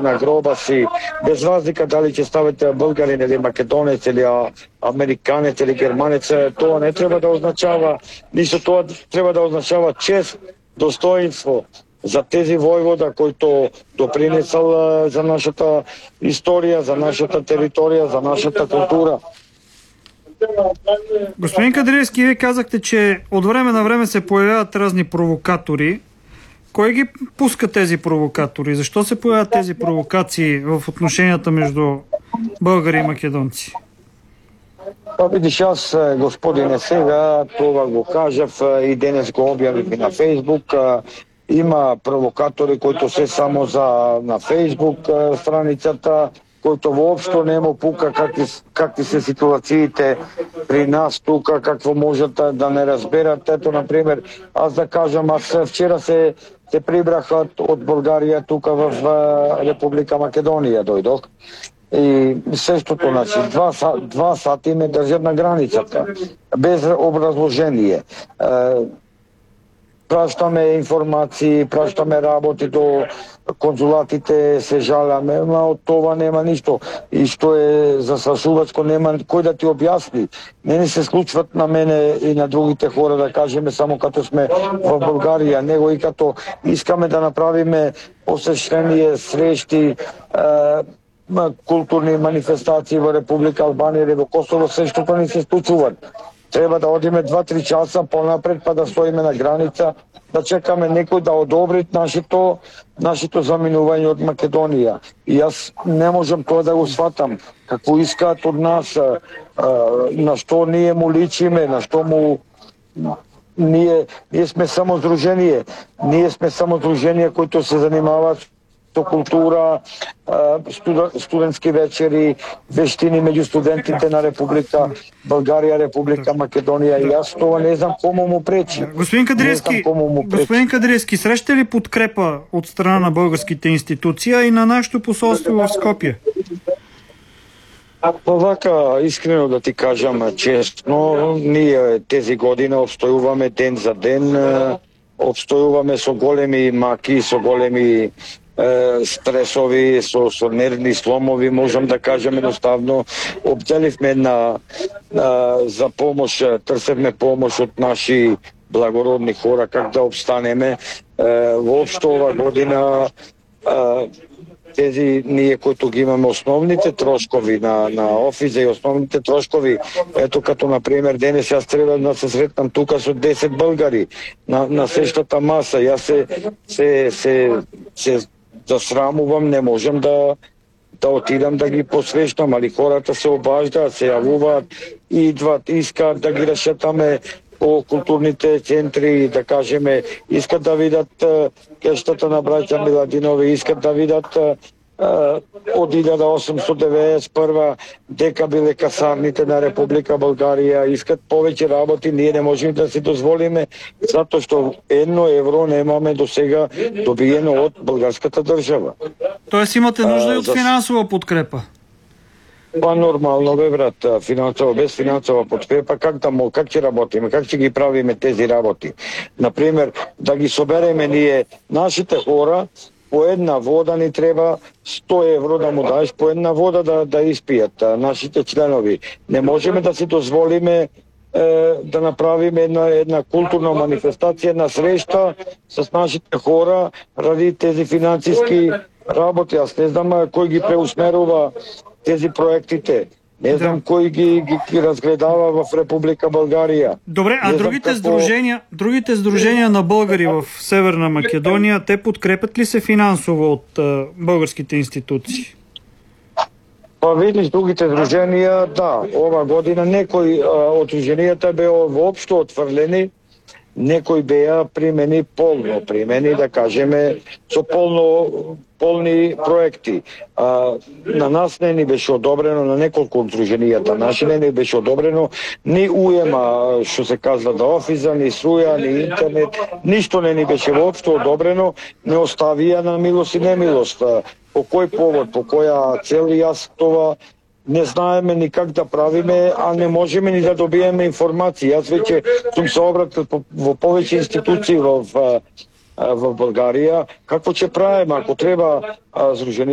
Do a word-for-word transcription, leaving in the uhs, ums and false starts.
на гроба си, без разлика дали ќе ставите българин или македонец или американец или германец, тоа не треба да означава, ништо, тоа треба да означава чест, достоинство за тези војвода којто допринесал за нашата историја, за нашата територија, за нашата култура. Господин Кадриевски, вие казахте, че от време на време се появяват разни провокатори. Кой ги пуска тези провокатори? Защо се появяват тези провокации в отношенията между българи и македонци? Па видиш, аз, господине, сега това го кажав и денес го објавив и на Фейсбук. Има провокатори които се само за на Фейсбук страницата, којто воопшто не му пука какви, какви се ситуациите при нас тука, какво можат да не разберат. Ето, например, аз да кажам, аз вчера се, се прибрах од Българија тука в Република Македонија дојдох. И сештото, значи, два, два сати ме држат на границата, без образложение. Пращаме информации, пращаме работи до конзулатите, се жаламе, но од това нема ништо. И што е застрашувачко, нема кој да ти објасни. Не ни се случват на мене и на другите хора, да кажеме, само като сме во Българија, него и като искаме да направиме посещение, срещи, е, културни манифестации во Република Албанија или во Косово, сештото ни се случуваат. Треба да одиме два-три часа понапред, па да стоиме на граница, да чекаме некој да одобри нашето, нашето заминување од Македонија. И јас не можам тоа да го сватам. Какво искаат од нас, а, а, на што ние му личиме, на што му... Ние, ние сме само здружение. Ние сме само здружение които се занимаваат со култура, студентски вечери, вештини меѓу студентите на Република Българија, Република Македонија. И јас тоа не знам кому му пречи. Господин Кадриевски, господин Кадриевски, срещате ли подкрепа от страна на българските институции и на нашето посолство в Скопје? Па вака, искрено да ти кажам честно, ние тези година обстојуваме ден за ден, обстојуваме со големи маки, со големи стресови, со, со нервни сломови, можам да кажем едноставно. Обделивме на, на за помош, трсевме помош од наши благородни хора как да обстанеме. Воопшто ова година тези ние които ги имаме основните трошкови на, на офиза и основните трошкови, ето като например денес јас треба да се сретнам тука со десет българи на, на сештата маса. Јас се, се, се, се засрамувам, не можам да да отидам да ги посрещам, али хората се обаждаат, се јавуваат, идват, искаат да ги решетаме по културните центри, да кажеме, искат да видат кештата на браќа Миладинови, искат да видат од илјада осумстотини деветдесет и прва дека биле касарните на Република Българија, искат повеќе работи, ние не можеме да си дозволиме, затоа што едно евро немаме до сега добиено од българската држава. Тоест имате нужда и од финансова подкрепа? Па нормално бе, брат, финансово, без финансова подкрепа, как да мол, как ќе работиме, как ќе ги правиме тези работи? Например, да ги собереме ние нашите хора, по една вода ни треба сто евро да му даеш, по една вода да, да испијат нашите членови. Не можеме да си дозволиме е, да направиме една, една културна манифестација, една среща с нашите хора ради тези финансиски работи. Аз не знам кој ги преусмерува тези проектите. Не знам да. Кој ги, ги, ги разгледава в Република Българија. Добре, а другите какво... сдружения, другите сдружения на българи в Северна Македонија, те подкрепят ли се финансово от а, българските институции? Па видиш, другите сдруженија, да, ова година некои а, од сдруженијата беа воопшто отфрлени, некои беа примени полно, примени да кажеме со полно полни проекти. А, на нас не ни беше одобрено, на неколку од сдруженијата наши не ни беше одобрено ни уема, што се казва да офиза, ни струја, ни интернет, ништо не ни беше воопшто одобрено, не оставија на милост и немилост. По кој повод, по која цел, јас това не знаеме ни как да правиме, а не можеме ни да добиеме информации. Јас веќе сум се обратил во повеќе институции во во Българија, какво ќе правиме, ако треба сдруженијата